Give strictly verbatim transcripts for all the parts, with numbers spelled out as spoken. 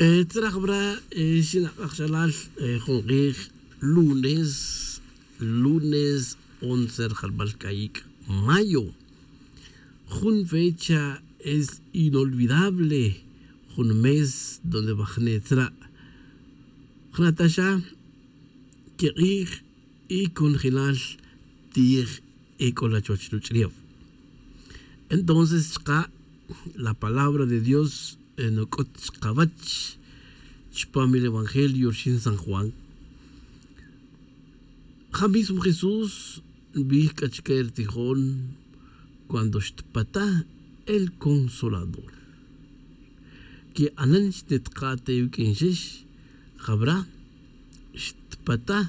Tzraj wra' xinak'aj xalal jun q'ij lunes lunes once rjalb'al k'ayik' mayo. Jun fecha es inolvidable. Jun mes donde wajne' tzra' jna' ta xa kiq'ij y kunjelal ti'ej ek'ola chuwach ruch'ulew. Entonces chka' la palabra de dios nuk'ut chkawach chpam el evangelio rxin san juan. Ja mismo jesús nbij k'a chke rtijon cuando xtpataj el consolador. Ke'anan xnitqa' te wik'in xix jawra xtpataj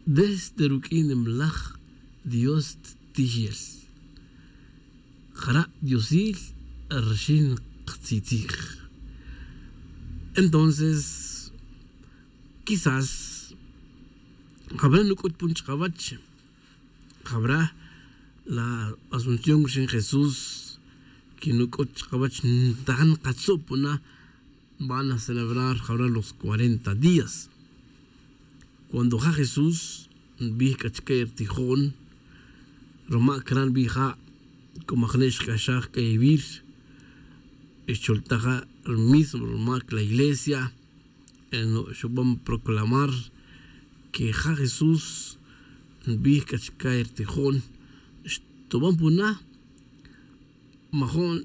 desde ruk'in nimlaj dios ttijel. Jara' diosil rxin qtzitzij. Entonces quizás jawra nuk'ut pun chkawach jawra la asunción rxin jesús que nuk'ut chkawach ntajan qatzu' puna. Van a celebrar jawra los cuarenta días. Cuando ja jesús nbij k'a chke rtijon ruma' cra' nbij ja' como ajne' xk'axaj k'a ewir xcholtaj ja' rmismo rumac la iglesia. Xub'an proclamar que ja jesús nbij k'a chke rtijon xtub'an puna majo'n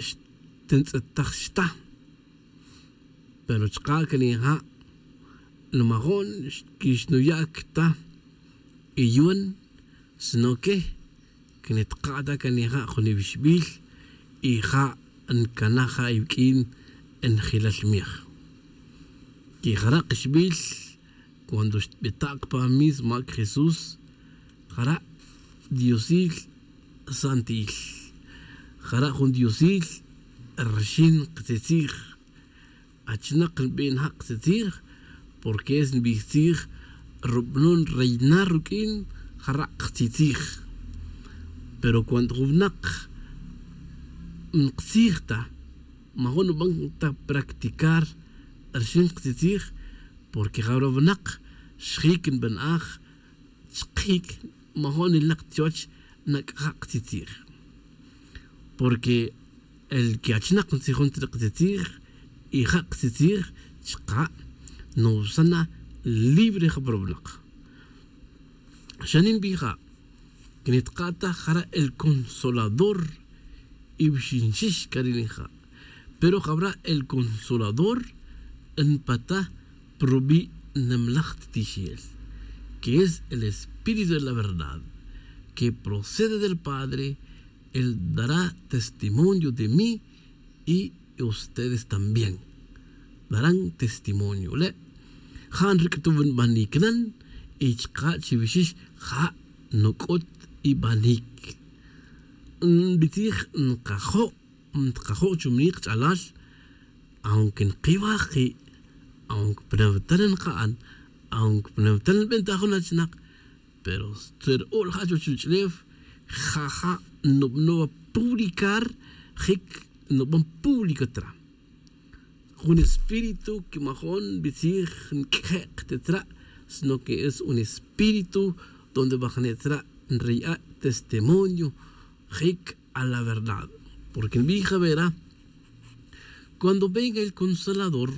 xtintz'etaj xta. Pero chka' que ninja' nmajo'n que xnuya' cta iyuan sino que que nitqa' ta que ninja' jun iwixbil y ja' ncanaj ja' iwq'uin njelal miej. Que jara' kixbil cuando xtbita' kpa mismo mac jesús jara' diosil santil. Jara' jun diosil rxin ktzitzij. Achinak nbij nja' ktzitzij porque es nbij tzij rub'anon reinar ruq'uin jara' ktzitzij. Pero cuando jun winak nqtzij ta majun nuban ta practicar rxin ktzitzij porque jawra winak xjic nb'anaj chkic majun nilnak chuwach nac'aja' ktzitzij. Porque el que achinak ntzijon tzri' ktzitzij y ja' ktzitzij chka' nowsana libre ja pa ruwinak. Xa ninbij ja' que nitqa' ta jara' el consolador y wixinxix c'a ri ninja'. Pero jawra' el consolador npata' pa rubi' nimlaj ttixel que es el espíritu de la verdad que procede del padre. Él dará testimonio de mí y ustedes también darán testimonio le' ja' nric'tuw nbanic nan y chka' chiwixix ja' nuc'ut ibanic. Nbitzij nkajo' ntkajo' chumni kch'alal aunque nkiwaj ki' aunque pnawtal nka'an aunque pnawtal nbenta jun achinak pero tzer'ul ja' chuwach ruch'ulew jaja' nub'anow publicar jic nub'an público tra jun espíritu que majo'n nbitzij nq'uejek' ta tra' sino que es un espíritu donde wajne' tra' nriya' testimonio jic a la verdad. Porque nbij jawera cuando venga el consolador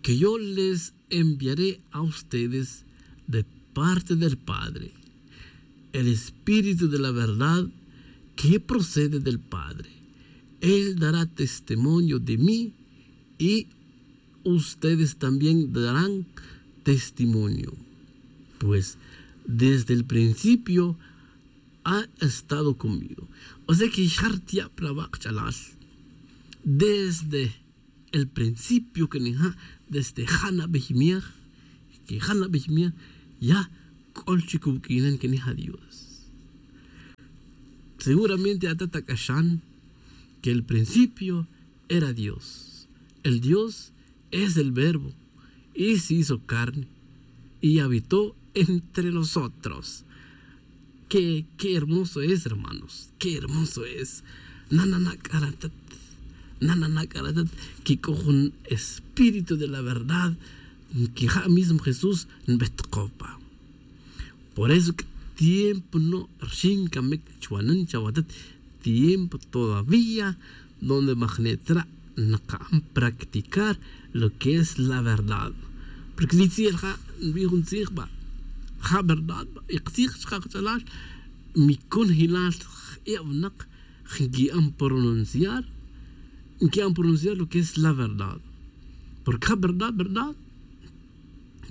que yo les enviaré a ustedes de parte del padre el espíritu de la verdad que procede del padre. Él dará testimonio de mí y ustedes también darán testimonio pues desde el principio ha estado conmigo. O sea que xjar tiya' pa la wak' ch'alal desde el principio que ninja' desde ja' nabiy miej que ja' nabiy miej ya c'ol chic uq'uinan que ninja' dios. Seguramente atat ac'axan que el principio era dios. El dios es el verbo y se hizo carne y habitó entre nosotros. Qué hermoso es hermanos, qué hermoso es. Nanana' c'a ratat Nana' na c'a re' tat que c'o jun espíritu de la verdad que ja' mismo Jesús nbetkopa. Por eso tiempo no rxin camic chwanan chawatat, tiempo todavía donde majnetzra' naka'n practicar lo que es la verdad. Porque li tzij ja' nbij jun tzij ba ja' verdad ba y ktzij chka' kach'alal. Mi conojilal je' winak nqui'an pronunciar nqui'an pronunciar lo que es la verdad. Porque ja' verdad verdad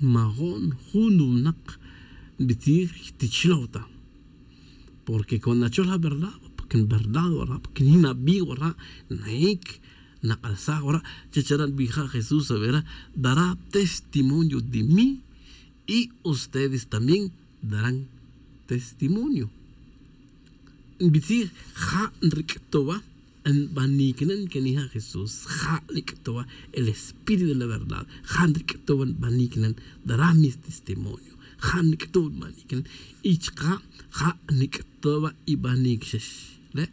majo'n jun winak nbitzij tichlow ta. Porque cuando nachol ja' verdad porque nverdad wara' porque yin nabi' wara' nahic nak'alsaj wara'. Chachara' nbij ja' Jesús avera dará testimonio de mí y ustedes también darán testimonio. Nbitzij ja' nric'towa nbanic nan que nija' Jesús ja' nic'towa el espíritu de la verdad ja' nic'towa nbanic nan dará mis testimonio ja' nic'towa nbanic nan. Y chka' ja' nic'towa y banic xex le'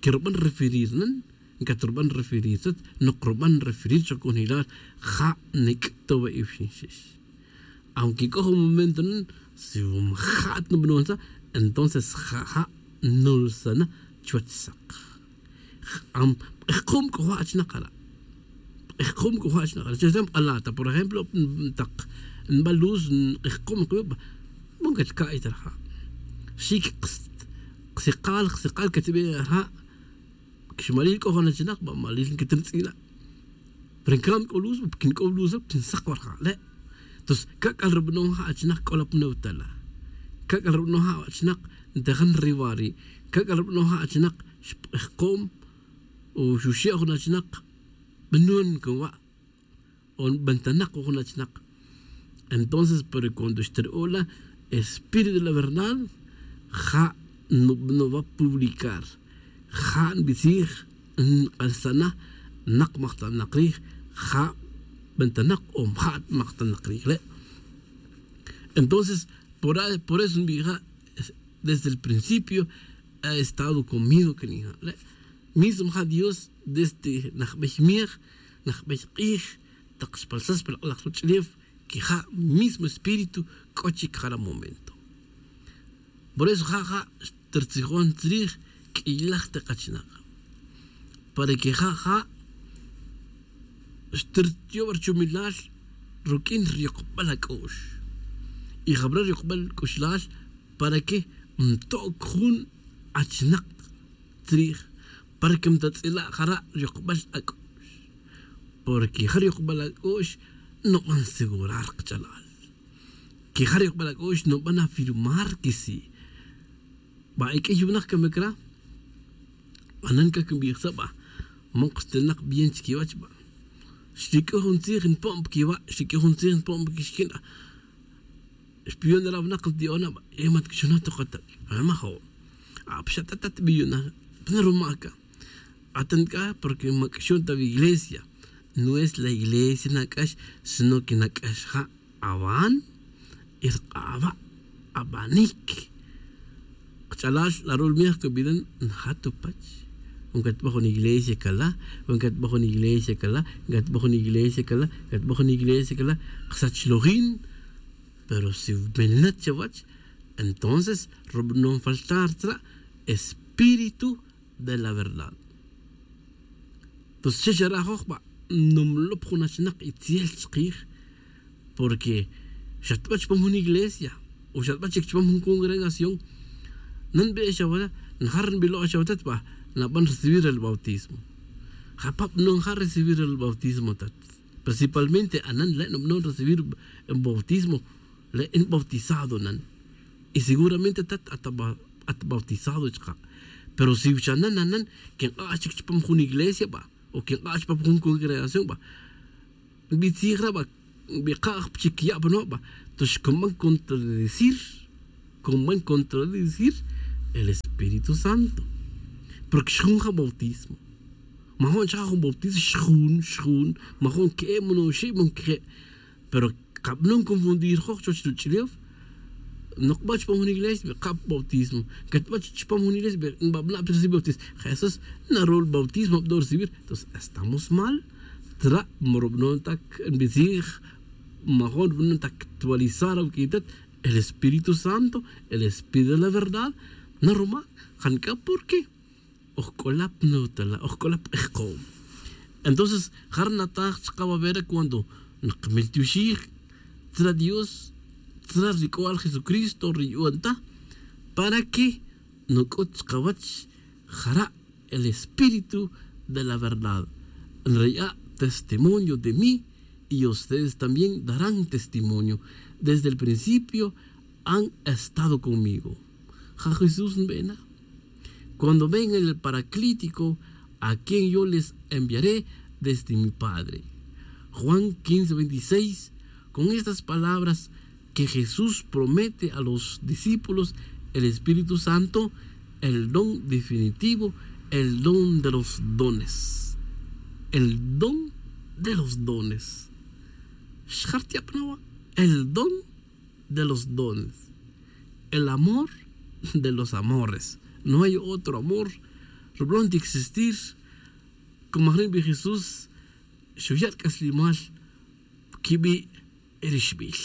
que ruban referir nan ncat ruban referir tat nok ruban referir chok conojilal ja' nic'towa y bxin xex. Aunque c'o jun momento nan si majat nubanon sa entonces ja' ja' nulsana chuwech sak. K'ejkom c'o ja' achinak ara' k'ejkom c'o ja' achinak ara' chesem k'ala' ta por ejemplo tak nba luz k'ejkom kiwi' ba. Bon catca'y ta raja' xic ksikal ksikal catbe' raja'. Xmalil c'o jun achinak ba malil nquetirtz'ila'. Pero ncambi c'o luz ba porque nc'ob luz ba porque nsak wa raja' le'. Entonces ca'c'al rubanon ja' achinak c'o la pa newtala'. Ca'c'al rubanon ja' achinak ntejan riwari'. Ca'c'al rubanon ja' achinak xp'ejkom o xuxe' jun achinak banon cun wa' o nbantanak jun achinak. Entonces pero cuando xtira'o' la espíritu de la verdad ja' nubanon wa publicar ja' nbitzij nk'alsana nak majtanak rij ja' bantanak o majat majtanak rij le'. Entonces por eso nbij ja' desde el principio ha estado conmigo que nija' le' mismo ja' Dios desde najbey miej najbey k'ij tak xpalsas pa lak'laj ruch'ulef que ja' mismo espíritu c'o chic jara' momento. Por eso ja' ja' xtirtzijon tzrij q'uiylaj te kachinak para que ja' ja' xtirtiyob ruchumilal ruq'uin riyokbal ac'u'x. Y jabra riyokbal c'uxlal para que nto'c jun achinak tzrij para que ntatz'ila' jara' riyokbal ac'u'x. Porque ja' riyokbal ac'u'x nuban segurar kach'alal que ja' riyokbal ac'u'x nuban afirmar que si ba iq'uiy winak camic ra'. Anan ca quinbij sa' ba man kxtilnak bien chiquiwech ba. Xriq'uiy jun tzij npo'n pa quiwa' xriq'uiy jun tzij npo'n pa quixquin. Xpiyon ra' winak nti'ona ba y man tquixonaj ta kata'. Majo'. Apxa' tatat biyona. Pana ruma' ca atan c'a porque ma c'axon ta wi iglesia. No es la iglesia nac'ax sino que nac'ax ja' awan y rk'awa' abanic. Kach'alal la rul miej cubida nja' tu pach. Wi catba jun iglesia cala wi catba jun iglesia cala wi catba jun iglesia cala wi catba jun iglesia cala ksach lojin. Pero si menet chawech entonces rubanon faltar tzra' espíritu de la verdad. Entonces che xarajoj ba numlop jun achinak itzel chkij. Porque xatba chupam jun iglesia o xatba chic chupam jun congregación nan be' xawala' njar nbilo' xawala' tat ba naban recibir el bautismo. Japab no njar recibir el bautismo tat. Principalmente anan le' nubanon recibir bautismo le' nbautizado nan. Y seguramente tat at bautizado chka'. Pero si xa nan anan que nk'ax chic chupam jun iglesia ba o que nk'ax chupam jun congregación ba nbitzij ra' ba nbikaj pa chic ya' pa no' ba. Entonces xcunban contradecir cunban contradecir el espíritu santo. Porque xjun ja' bautismo. Majo'n chaka' jun bautismo xjun xjun. Majo'n que'e' monoxi' mon que'e'. Pero kabanon confundir joj chuwech ruch'ulef. Nokba chupam jun iglesia be kap bautismo, katba chupam jun iglesia be nbabna' recibir bautismo. Jesús narul bautismo abdo recibir. Entonces estamos mal. Tra' morobnon tak nbitzij, majon nbnon tak actualizar awquitat. El Espíritu Santo, el Espíritu de la verdad, naruma. Jan c'a porque oj c'ola pnutala, oj c'ola pk'ejkom. Entonces jara' nataj chka wavera cuando nkmil tioxij tzra dios, tzra ri c'oal jesucristo ri yu'an ta, para que nuc'ut chkawach jara' el espíritu de la verdad. Nraya' testimonio de mí, y ustedes también darán testimonio. Desde el principio han estado conmigo. Ja jesús nbena. Cuando venga el paraclítico, a quien yo les enviaré desde mi padre. Juan quince veintiséis. Con estas palabras que jesús promete a los discípulos, el espíritu santo, el don definitivo, el don de los dones. El don de los dones. Xjartiapnawa. El don de los dones. El amor de los amores. No hay otro amor rublon ti existir. Como ajrin bi jesús, xuya' rc'aslimal quibi' rixbil.